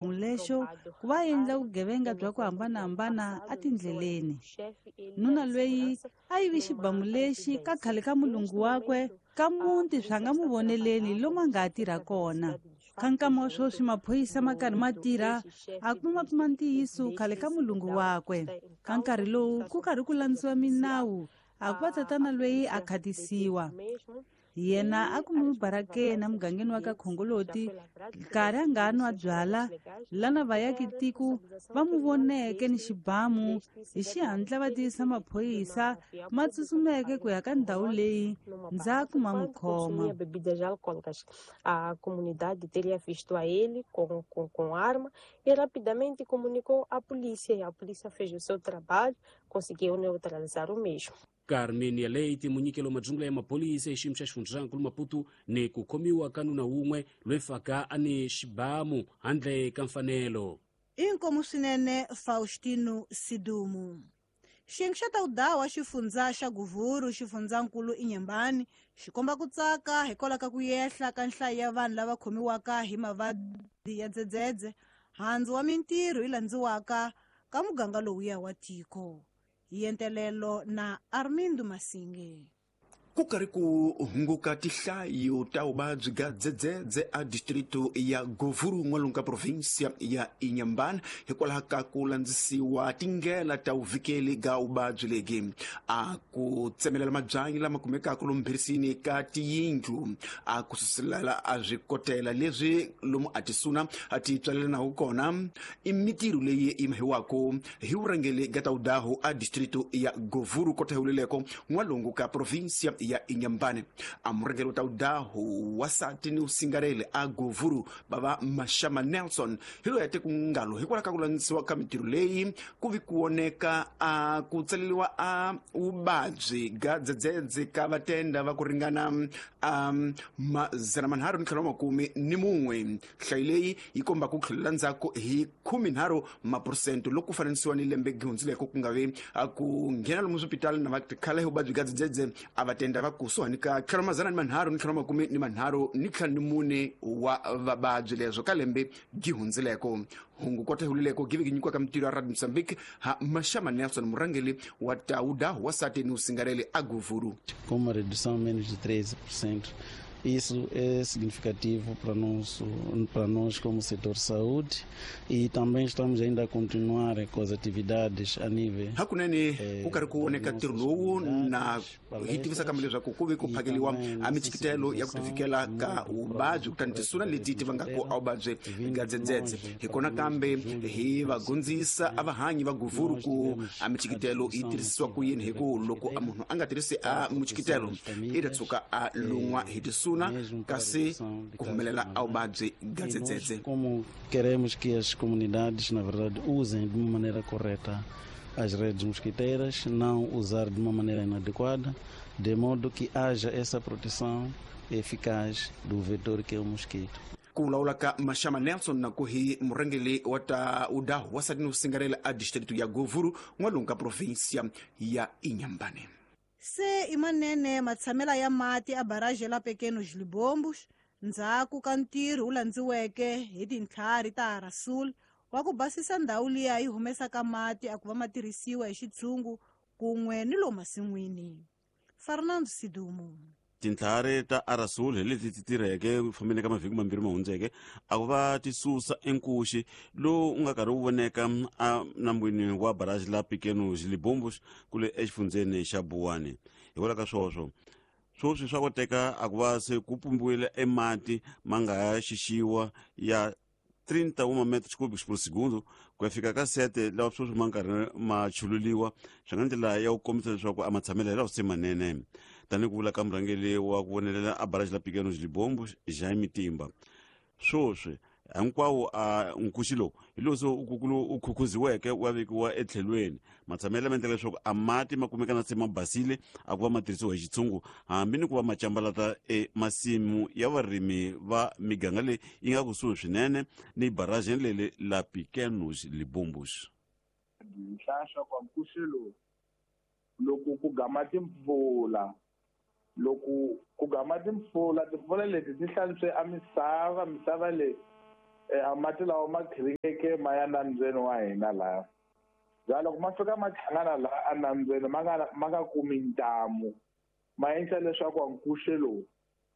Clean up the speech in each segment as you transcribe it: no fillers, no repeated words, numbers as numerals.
Lexo ku va endla vugevenga bya ku hambanahambana etindleleni. Nuna loyi a yivi xibamu lexi ka khale ka mulungu wakwe ka muti swa nga mu voneleni lomu a nga ha tirha kona. Ka nkama wa sweswi maphorisa ma karhi ma tirha a kuma kuma ntiyiso khale ka mulungu wakwe. Ka nkarhi lowu ku karhi ku landziwa minawu a ku va tatana loyi a khatisiwa. Yena a kumiwe barakeni emugangeni wa ka Khongoloti nkarhi a nga nwa byala lana vayaki tiko va mu voneke ni xibamu hi xihatla va tivisa maphorisa ma tsutsumeke ku ya ka ndhawu leyi ndzhaku ma n'wi khoma. Bebidas alcoólicas. A comunidade teria visto a ele com arma e rapidamente comunicou à polícia, e a polícia fez o seu trabalho, conseguiu neutralizar o mesmo. Carmenia Leite munyikelo madzungula ya mapolisa exiyimo xa xifundzankulu Maputo ni ku khomiwa ka nuna wun'we loyi faka a ni xibamu handle ka mfanelo. Inkomu swinene Faustino Sidumu. Xiyenge xa tawudawa xifundza xa Guvuru xifundzankulu Inhambane xi komba ku tsaka hikwalaho ka ku yehla ka nhlayo ya vanhu lava khomiwaka hi mavabyi ya dzedzedze, handzu wa mintirho yi landziwaka ka muganga lowuya wa tiko. Yentelelo na Armindo Masinge. Ku karhi ku hunguka tihlayo ta vuvabyi bya dzedzedze a distrito ya Govuru n'walungu ka provinsia ya Inhambane hikwalaho ka ku landzisiwa tindlela ta vuvikeli bya vuvabyi lebyi. A ku tsemelela mabyanyi lama kumekaka lomu mbhirisini ka tiyindlu, a ku suselela a swikotela leswi lomu a tisuna a ti tswalelanaku kona, i mitirho leyi yi mahiwaka hi vurhangeri bya tawudahu a distrito ya Govuru kota huleleko n'walungu ka provinsia ya Inhambane. A murhangeri wa tawudahu wasati ni usingareli a Govuru bava Mashama Nelson hi loyi a te ku ngalo hikwalaho ka ku landzisiwa ka mitirho leyi ku vi ku voneka a ku tsaleriwa a vuvabyi bya dzedzedze ka vatenda va ku ringana a 351. Nhlayo leyi yi komba ku tlhelela ndzhaku hi 13% loko ku fananisiwa ni lembe gihundzileko ku nga vi ku nghena lomu swipitali na va tikhala hi vuvabyi bya dzedzedze a va tenda va kusuhani ka 334 wa vavabyi leswo ka lembe gihundzileko. Hungu kota hulileko give nyikiwa ka mitirho ya Radio Mozambique ha Mashama Nelson murhangeri wa Tauda wasati ni usingareli a Govuru. Com uma redução menos de 13%. Isso é significativo para nós como setor saúde, e também estamos ainda a continuar com as atividades a nível. Hakunene ku karhi ku voneka ntirho lowu na hi tivisa kambe leswaku ku ve ku phakeliwa a michikitelo ya ku tivikela ka vuvabyi kutani tisuna leti ti vangaka a vuvabyi bya dzedzedze. Hi kona kambe hi va gondzisa a vahanyi va Govuru ku a michikitelo yi tirhisiwa ku yini, hi ku loko a munhu a nga tirhisi a muchikitelo i ta tshuka a lun'wa hi tisuna kasi ku humelela a vuvabyi bya dzedzedze. Como queremos que as comunidades, na verdade, usem de uma maneira correta as redes mosquiteiras, não usar de uma maneira inadequada, de modo que haja essa proteção eficaz do vetor que é o mosquito. Ku vulavula ka Mashama Nelson na ku hi murhangeri wa ta udahu wasati ni usingarela a distrito ya Govuru n'walungu ka provinsia ya Inhambane. Se i manene matshamela ya mati a barragem la Pequenos Libombos ndzhaku ka ntirho wu landziweke hi tintlhari ta Rasul wa ku basisa ndhawu liya yi humesaka mati a ku va ma tirhisiwa hi xitshungu kun'we ni lomu masin'wini. Fernando Sidumo. Tintlhari ta Arasul hi leti ti tirheke ku fambeni ka mavhiki mambirhi ma hundzeke a ku va ti susa enkuxi lowu nga karhi wu voneka a nambwini wa barrage la Pequenos Libombos kule exifundzeni xa Buwani. Hikwalaho ka swoswo swoswi swa koteka a ku va se ku pumbiwile emati ma nga ha xixiwa ya 31 metros cúbicos por segundo ku ya fika ka 7 lawa sweswi ma nkarhi ma chululiwa, swi nga ndlela ya ku kombisa leswaku a matshamelo hi lawa se manene. Tanihi ku vula ka murhangeri wa ku vonelela a barrage la Pequenos Libombos Jaime Timba, swoswi hinkwawo a nkuxi lowu hi lowu se u khukhuziweke wa vekiwa etlhelweni. Matshamelo lama endlaka leswaku a mati ma kumeka na se ma basile a ku va ma tirhisiwa hi xitshungu hambi ni ku va ma cambalata emasimu ya varimi va miganga leyi yi nga kusuhi swinene ni barrage leli la Pequenos Libombos. Nhlahla kwa nkuxi lowu loko ku gama timpfula, loko ku gama timpfula, timpfula leti ti hlantswe a misava, misava leyi A mati lawa ma khiringeke ma ya nambyeni wa hina laha. Bya loko ma fika ma hlangana laha enambyeni ma nga kumi ntamu, ma endla leswaku nkuxe lowu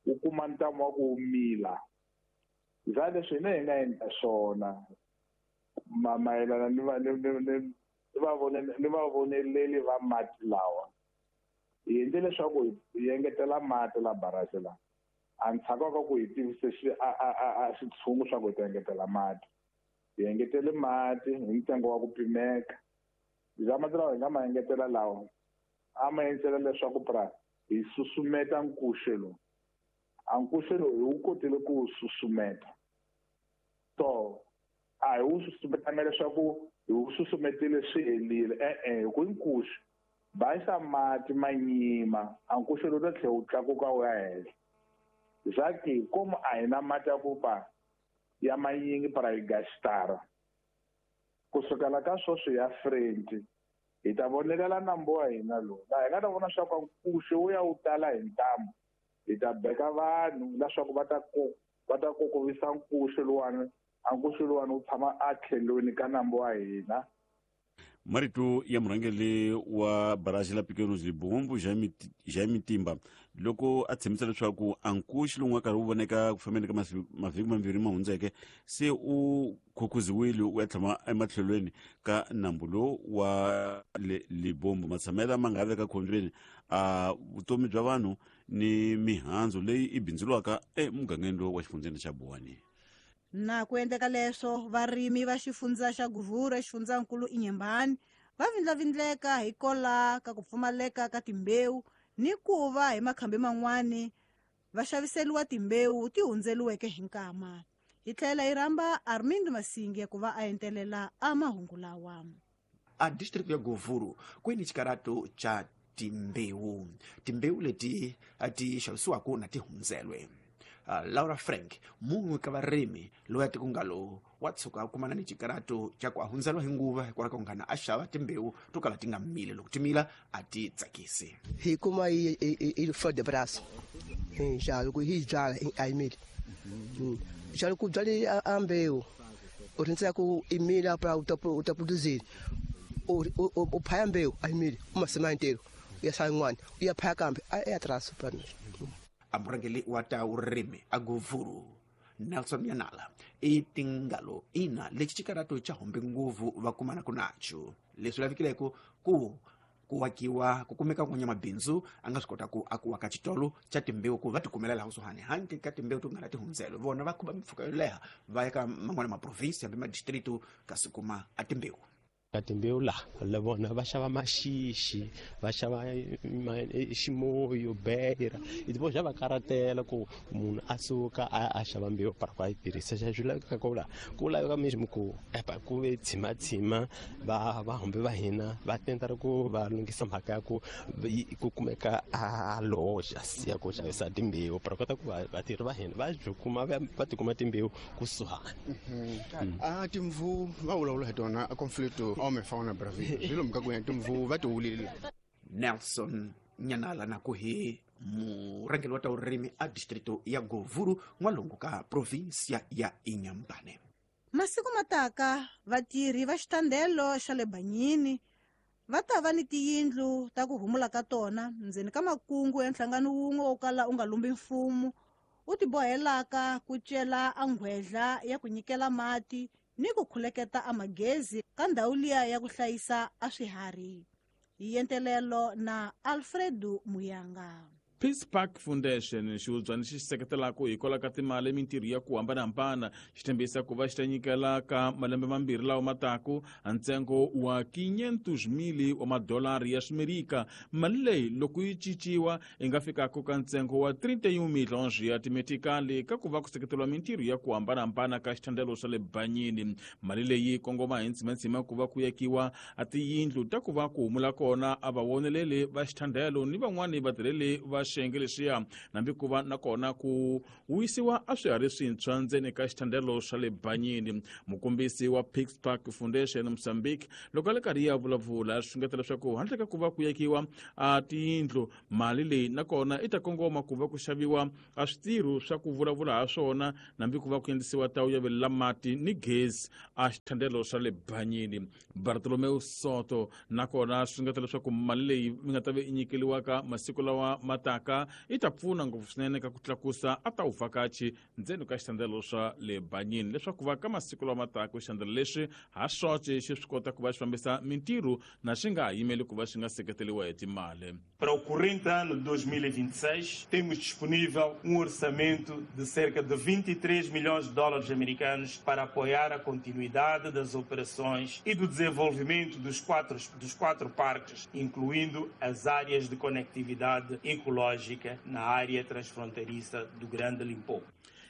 wu kuma ntamu wa ku wu mila. Bya leswi hina hi nga endla swona mayelana ni vavoneleli va mati lawa, hi endle leswaku hi engetela mati la barrage la. A ndzhaku ka ku hi tivise xitshungu swa ku hi ta engetela mati, hi engetele mati hi ntsengo wa ku pimeka. Bya mati lawa hi nga ma engetela lawa a ma endlela leswaku pra hi susumeta nkuxe lowu. A nkuxe lowu hi wu kotile ku wu susumeta, so a hi wu susumetanga leswaku hi wu susumetile swi helile, e-e, hi ku nkuxe baxa mati ma nyima, a nkuxe lowu ta tlhela wu tlakuka wu ya henhla. Zaki komu a hi na mati ya ku pa ya manyingi para hi gastara. Kusukela ka sweswi ya Frenti hi ta vonelela nambu wa hina lowu, laha hi nga ta vona swa ku nkuxe wu ya wu tala hi ntamu. Hi ta beka vanhu leswaku va ta kokovisa nkuxe luwani, a nkuxe luwani wu tshama a tlhelweni ka nambu wa hina. Marito ya murhangeri wa barrage la Pequeno Libombo Jaime Timba loko a tshembisa leswaku a nkuxi lowu nga karhi wu voneka ku fambeni ka mavhiki mambirhi ma hundzeke se u khukhuziwile u ya tshama ematlhelweni ka nambu lowu wa Libombo. Matshamela ma nga veka khombyeni a vutomi bya vanhu ni mihandzu leyi i bindzuriwaka emugangeni lowu wa xifundzeni xa Buwani. Na ku endleka leswo, varimi va xifundza xa Guvhuru exifundzankulu Inhambane va vindlavindleka hi kola ka ku pfumaleka ka timbewu ni ku va hi makhambi man'wani va xaviseriwa timbewu ti hundzeliweke hi nkama. Hi tlhela hi rhamba Armindo Masinge ku va a entelela a mahungu lawa. A district ya Guvhuru ku ni xikarato xa timbewu, timbewu leti ti xavisiwaka na ti hundzelwe. Laura Frank, mun'we ka varimi loyi a tikungalo wa tshuka a kumana ni xikarato xa ku a hundzeliwa hi nguva hikwalaho ka ku nghana a xava timbewu to kala ti nga mili, loko ti mila a ti tsakisi. Hi kuma hi flor de braço, xa loko hi byala a yi mili. Xa loko u byale a mbewu u rindzela ku i mila pra u ta produzir, u phaya mbewu a yi mili, u masima ntirho u ya sala yin'wana u ya phaya kambe a ya traso pra. A murhangeri wa ta vurimi a Guvhuru Nelson Yanala i tingalo ina lexi xikarato xa humbi nguvu va kumanaka nacho, leswi lavekileke ku wakiwa ku kumeka n'wanyamabindzu a nga swi kota ku a ku waka xitolo xa timbewu ku va tikumela laha kusuhani handle ka timbewu to nga na tihundzelo. Vona va khuba mimpfhuka yo leha va ya ka man'wana maprovinsi hambi madistritu kasi kuma a timbewu. Ka timbewu laha la vona va xava maxixi, va xava ximoyo, beira, i vo xa va karatela ku munhu a suka a xava mbewu para ku a yi tirhisa. Xa swi lavekaka ku laha ku laveka mesmo ku epa ku ve tshimatshima va vahumbi va hina va tenta ku va lunghisa mhaka ya ku ku kumeka a loja ya ku xavisa timbewu para kota ku vatirhi va hina va byi kuma va tikuma timbewu kusuhani. A timvu va vulavula hi tona a conflicto homem fauna Brazil swilo mka ku timvu va tiwulile. Nelson Nyanala na ku hi murhangeri wa ta vurimi a distrito ya Guvhuru n'walungu ka provinsia ya Inhambane. Masiku mataka vatirhi va xitandelo xa le Banyini va ta va ni tiyindlu ta ku humula ka tona ndzeni ka makungu ya nhlangano wun'we wo kala u nga lumbi mfumo u tibohelaka ku cela a nghwedla ya ku nyikela mati ni ku khuleketa a magezi ka ndhawu liya ya ku hlayisa a swiharhi. Hi entelelo na Alfredo Muyanga. Peace Park Foundation xihubyana xi seketelaka hikwalaho ka timali mintirho ya ku hambanahambana xi tshembisa ku va xi ta nyikela ka malembe mambirhi lawa mataku ntsengo wa 500,000 wa madolari ya Swimerika. Mali leyi loko yi cinciwa yi nga fikaka ka ntsengo wa 31 milhons ya timetikali ka ku va ku seketeriwa mintirho ya ku hambanahambana ka xithandelo xa le Banyini. Mali leyi kongoma hi ntsimantsima ku va ku yakiwa a tiyindlu ta ku va ku humula kona a vawoneleli va xithandelo ni van'wani vatirheli va xiyenge lexiya nambi ku va nakona ku wisiwa a swiharhi swintshwa ndzeni ka xithandelo xa le Banyini. Mukombisi wa Peace Park Foundation Mozambique loko a le karhi ya vulavula swi xungeta leswaku handle ka ku va ku yekiwa a tiyindlu, mali leyi nakona i ta kongoma ku va ku xaviwa a switirho swa ku vulavula ha swona nambi ku va ku endlisiwa tawu ya velela mati ni gezi a xithandelo xa le Banyini. Bartolomeu Soto nakona swi xungeta leswaku mali leyi mi nga ta ve i nyikeliwaka masiku lawa mataka i ta pfuna ngopfu swinene ka ku tlakusa a ta vuvhakachi ndzeni ka xithandelo swa le Banyini, leswaku va ka masiku lawa mataka xithandelo lexi ha xoxe xi swi kota ku va xi fambisa mintirho na xi nga ha yimeli ku va xi nga seketeriwa hi timali. Para o corrente ano de 2026, temos disponível orçamento de cerca de 23 milhões de dólares americanos para apoiar a continuidade das operações e do desenvolvimento dos quatro parques, incluindo as áreas de conectividade ecológica na área transfronteiriça do Grande Limpopo.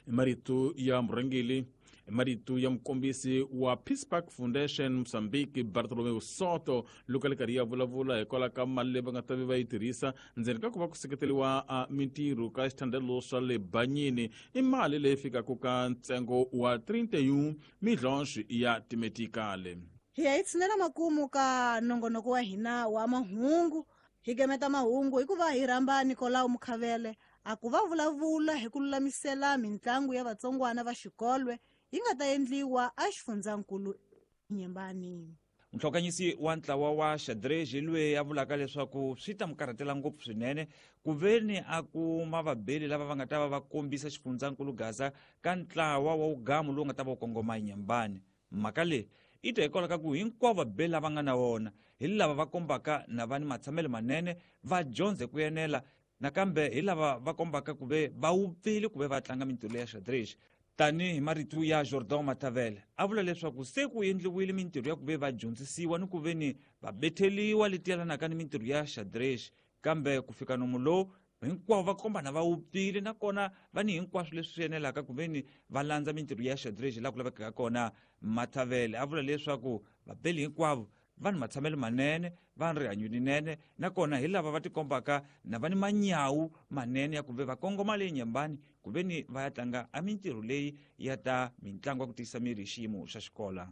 Marito ya murhangeri, marito ya mukombisi wa Peace Park Foundation Mozambique Bartolomeu Soto loko a le karhi ya vulavula hikwalaho ka mali leyi va nga ta ve va yi tirhisa ndzeni ka ku va ku seketeriwa a mintirho ka xithandelo swa le Banyini i mali leyi fikaka ka ntsengo wa 31 milhons ya timetikale. Hi ya hi tshinela makumu ka nongonoko wa hina wa mahungu. Hi gemeta mahungu hikuva hi rhamba Nicolau Mukhavele a ku va vulavula hi ku lulamisela mintlangu ya vatsongwana va xikolwe yi nga ta endliwa a xifundzankulu Nyembani. Muhlokanyisi wa ntlawa wa xadrez loyi a vulaka leswaku swi ta mu karhatela ngopfu swinene ku veni a kuma vabeli lava va nga ta va va kombisa xifundzankulu Gaza ka ntlawa wa wugamu lowu nga ta va wu kongoma Nyembani. Mhaka leyi i ta hikwalaho ka ku hinkwavo vabeli lava nga na wona hi lava va kombaka na va ni matshamelo manene, va dyondze ku enela, nakambe hi lava va kombaka ku ve va wupfile ku ve va tlanga mintirho ya xadrez. Tanihi marito ya Jordan Matavele a vula leswaku se ku endliwile mintirho ya ku ve va dyondzisiwa ni ku ve ni va betheliwa leti yelanaka ni mintirho ya xadrez, kambe ku fika nomu lowu hinkwavo va kombana va wupfile nakona va ni hinkwaswo leswi swi enelaka ku ve ni va landza mintirho ya xadrez laha ku lavekaka kona. Matavele a vula leswaku vabeli hinkwavo va ni matshamelo manene, va ni rihanyo linene, nakona hi lava va tikombaka na va ni manyawu manene ya ku ve va kongoma le Nyembani ku ve ni va ya tlanga a mintirho leyi ya ta mintlangu ya ku tiyisa miri hi xiyimo xa xikola.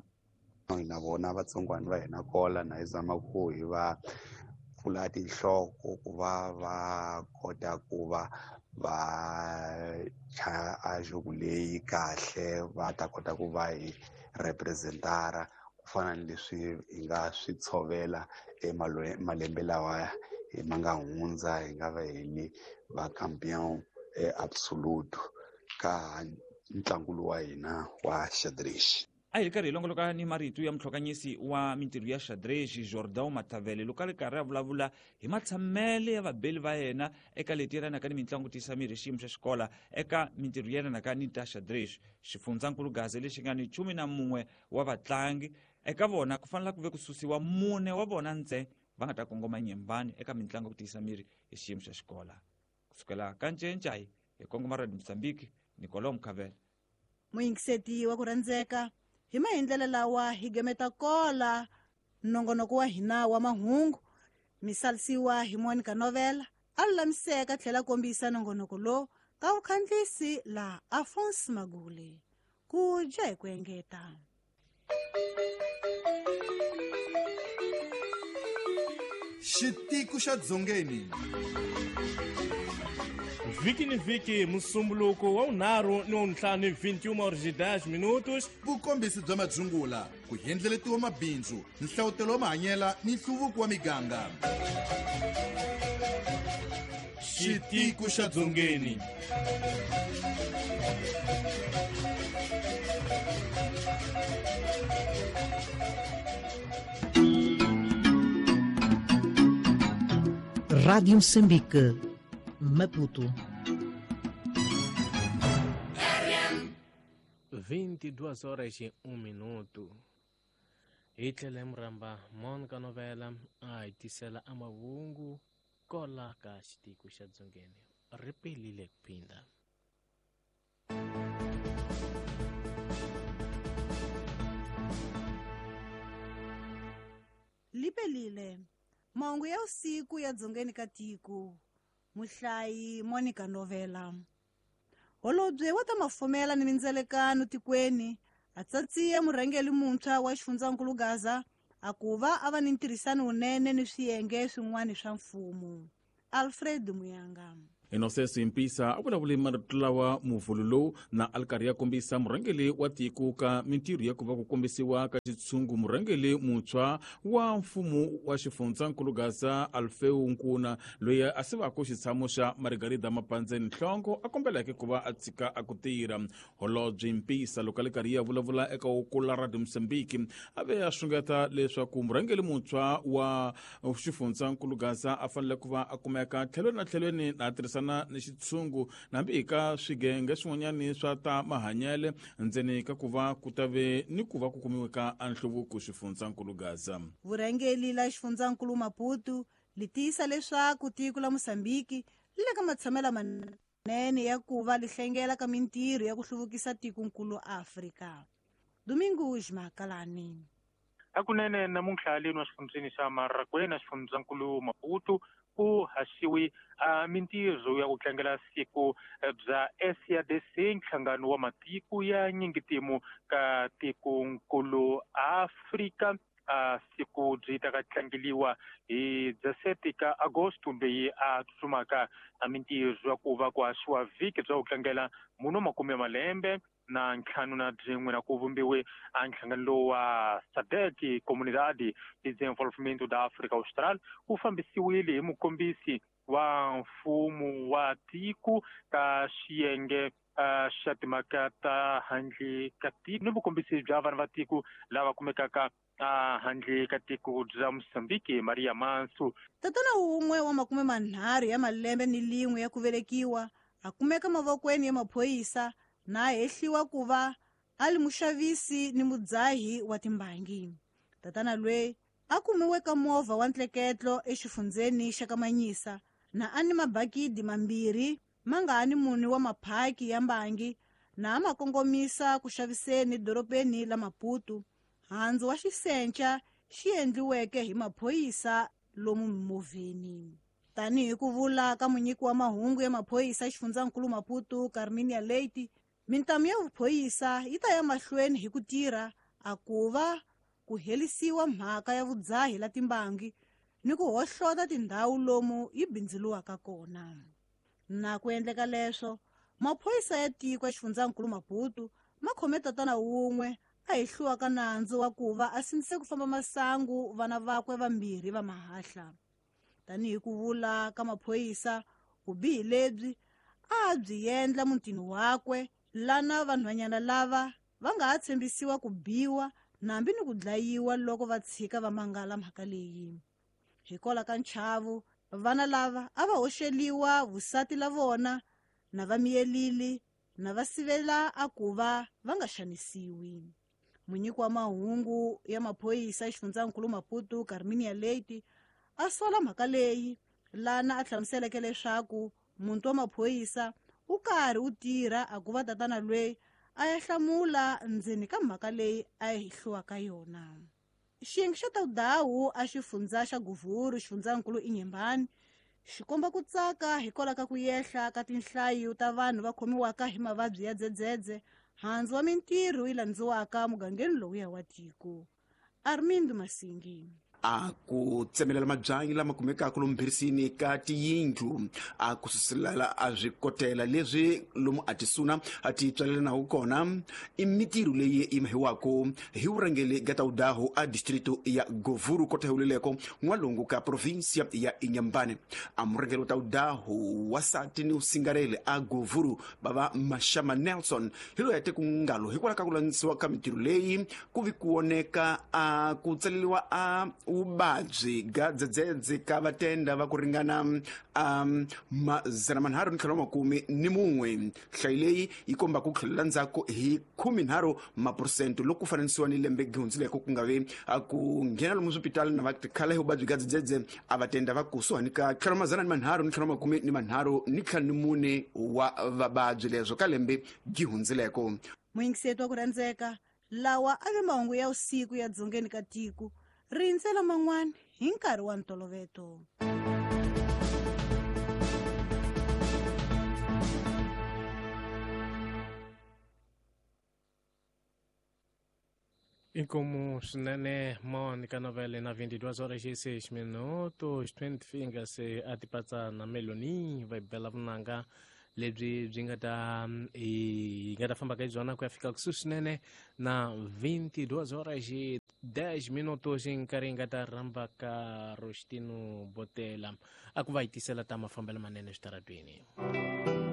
Na vona vatsongwana va hina kola na hi zama ku hi va pfula tinhloko ku va va kota ku va va chaya a jogo leyi kahle, va ta kota ku va hi representara ku fana ni leswi hi nga swi tshovela malembe lawa hi ma nga hundza, hi nga va hi ni va campeon absolute ka ntlangu lowu wa hina wa xadrez. A hi ri karhi hi longoloka ni marito ya muhlokanyisi wa mintirho ya xadrez Jordan Matavele loko a ri karhi a vulavula hi matshamele ya vabeli va yena eka leti yelanaka ni mitlangu tiyisa miri hi xiyimo xa xikola eka mintirho yelanaka ni ta xadrez. Xifundzankulu Gaza lexi nga ni 11 wa vatlangi eka vona ku fanele ku ve ku susiwa 4 wa vona ntsena va nga ta kongoma Nyembani eka mitlangu ku tiyisa miri hi xiyimo xa xikola. Kusukela ka Ncencai hi kongoma Radio Mozambique, Nicolau Mukhavele. Muyingiseti wa ku rhandzeka, hi mahindlela lawa hi gemeta kola nongonoko wa hina wa mahungu misalisiwa hi Monica Novela a lulamiseka tlhela kombisa nongonoko lowu ka vukhandlisi la Alphonse Magule. Ku dya hi ku engeta. Xitiko xa Dzongeni. Vhiki ni vhiki musumbuluko wa 5 ni wa 5 21h10. Vukombisi bya madzungula, ku hendleletiwa mabindzu, nhlawutelo wa mahanyela ni nhluvuko wa miganga. Xitiko xa Dzongeni. Rádio Moçambique, Maputo. 22h01. Hi tlhela hi murhamba Monica Novela a hi tisela amahungu kola ka xitiko xa Dzongeni. Ri pelile ku phinda. Lipelile mahungu ya usiku ya Dzongeni ka tiko. Muhlayi Monica Novela. Holobye wa ta mafumela ni mindzelekano tikweni a tsatsiye murhangeri muntshwa wa xifundzankulu Gaza a ku va a va ni ntirhisano wunene ni swiyenge swin'wana swa mfumo. Alfred Muyanga. Inosenso Impisa a vulavule marito lawa muvhulu lowu na a ri karhi ya kombisa murhangeri wa tiko ka mintirho ya ku va ku kombisiwa ka xitshungu murhangeri muntshwa wa mfumo wa xifundzankulu Gaza Alfeu Nkuna loyi a sivaka xitshamo xa Margarida Mapandzeni Nhlongo a kombeleke ku va a tshika a ku tirha. Holobye Mpisa loko a ri karhi ya vulavula eka Wokula Radio Mozambique a ve a xungeta leswaku murhangeri muntshwa wa xifundzankulu Gaza a fanele ku va a kumeka tlhelweni na tlhelweni na tirhisana ni xitshungu nambi hi ka swigenge swin'wanyani swa ta mahanyele ndzeni ka ku va ku ta ve ni ku va ku kumiwe ka nhluvuko xifundzankulu Gaza. Vurhangeri la xifundzankulu Maputo li tiyisa leswaku tiko la Mozambique li le ka matshamelo manene ya ku va li hlengela ka mintirho ya ku hluvukisa tikonkulu Afrika. Domingos Makalani. Hakunene namuntlha leno xifundzeni xa Marakwena xifundzankulu Maputo ku haxiwi a mintirho ya ku tlangela siku bya SADC nhlangano wa matiko ya nyingitimu ka tikonkulu Afrika. A siku byi ta ka tlangeliwa hi 17 ka Agosto leyi a tsutsumaka a mintirho ya ku va ku haxiwa vhiki bya ku tlangela muno makume malembe na ntlhanu na byin'we na ku vumbiwe a nhlangano lowu wa SADC Comunidade de Desenvolvimento da África Austral wu fambisiwile hi mukombisi wa mfumo wa tiko ka xiyenge xa timhaka ta handle ka tiko ni vukombisi bya vanhu va tiko lava kumekaka handle ka tiko bya Mozambique Maria Mansu. Tatana wun'we wa 30 ya malembe ni lin'we ya ku velekiwa a kumeka mavokweni ya maphorisa na hehliwa ku va a li muxavisi ni mudzahi wa timbangi. Tatana lweyi a kumiwe ka movha wa ntleketlo exifundzeni xa Kamanyisa na a ni mabakidi mambirhi ma nga ni mune wa maphaki ya mbangi na a ma kongomisa ku xaviseni dorobeni la Maputo. Handzu wa xisenca xi endliweke hi maphorisa lomu mimovheni. Tanihi ku vula ka munyiki wa mahungu ya maphorisa xifundzankulu Maputo Carminia Leite, mintamu ya vuphorisa yi ta ya mahlweni hi ku tirha a ku va ku helisiwa mhaka ya vudzahi la timbangi ni ku hohlota tindhawu lomu yi bindzuluwaka kona. Na ku endleka leswo, maphorisa ya tiko ya xifundzankulu Maputo ma khome tatana wun'we a hehliwaka nandzu wa ku va a sindzise ku famba masangu vana vakwe vambirhi va mahahla. Tanihi ku vula ka maphorisa, vubihi lebyi a byi endla mutini wakwe lana vanhwanyana lava va nga ha tshembisiwa ku biwa nambi ni ku dlayiwa loko va tshika va mangala mhaka leyi. Hikwalaho ka nchavo, vana lava a va hoxeliwa vusati la vona na va miyelili na va sivela a ku va va nga xanisiwi. Munyiki wa mahungu ya maphorisa xifundzankulu Maputo Carminia Leite a sola mhaka leyi lana a hlamuseleke leswaku muntu wa maphorisa u karhi u tirha a ku va tatana lweyi a ya hlamula ndzeni ka mhaka leyi a yi hehliwaka yona. Xiyenge xa Taudawu a xifundza xa Guvhuru xifundzankulu Inyembani xi komba ku tsaka hikwalaho ka ku yehla ka tinhlayo ta vanhu va khomiwaka hi mavabyi ya dzedzedze handzu wa mintirho yi landziwaka mugangeni lowuya wa tiko. Armindo Masingi. A ku tsemelela mabyanyi lama kumekaka lomu mbhirisini ka tiyindlu a ku suselela a swi kotela leswi lomu a tisuna a ti tswalelanaku kona i mintirho leyi yi mahiwaka hi vurhangeri bya Taudaho a distrito ya Govuru kota huleleko n'walungu ka provinsia ya Inhambane. A murhangeri wa Taudaho wasati ni usingareli a Govuru bava Mashama Nelson hi loyi a te ku ngalo hikwalaho ka ku landzisiwa ka mintirho leyi ku vi ku voneka a ku tsaleliwa a vuvabyi ga dzedzedze ka vatenda va ku ringana 341. Nhlayo leyi yi komba ku tlhelela ndzhaku hi 13% loko ku fananisiwa ni lembe gihundzileko ku nga vi ku nghena lomu swipitali na va tikhala hi vuvabyi ga dzedzedze a vatenda va kusuhani ka 334 wa vavabyi leswo ka lembe gihundzileko. Muyingiseti wa ku rhandzeka, lawa a ve mahungu ya usiku ya dzongeni ka tiko. Rindzela man'wana hi nkarhi wa ntoloveto. Inkomu swinene Monica Novele na 22 horas e 6 minutos 20 fingers a tipatsa na Meloni va bela vunanga lebyi byi nga ta hi nga ta famba ka byona ku ya fika kusuhi swinene na 22 horas e 10 minutos nkarhi hi nga ta rhamba ka Rostino Botela a ku va hi tisela ta mafambelo manene switaratweni.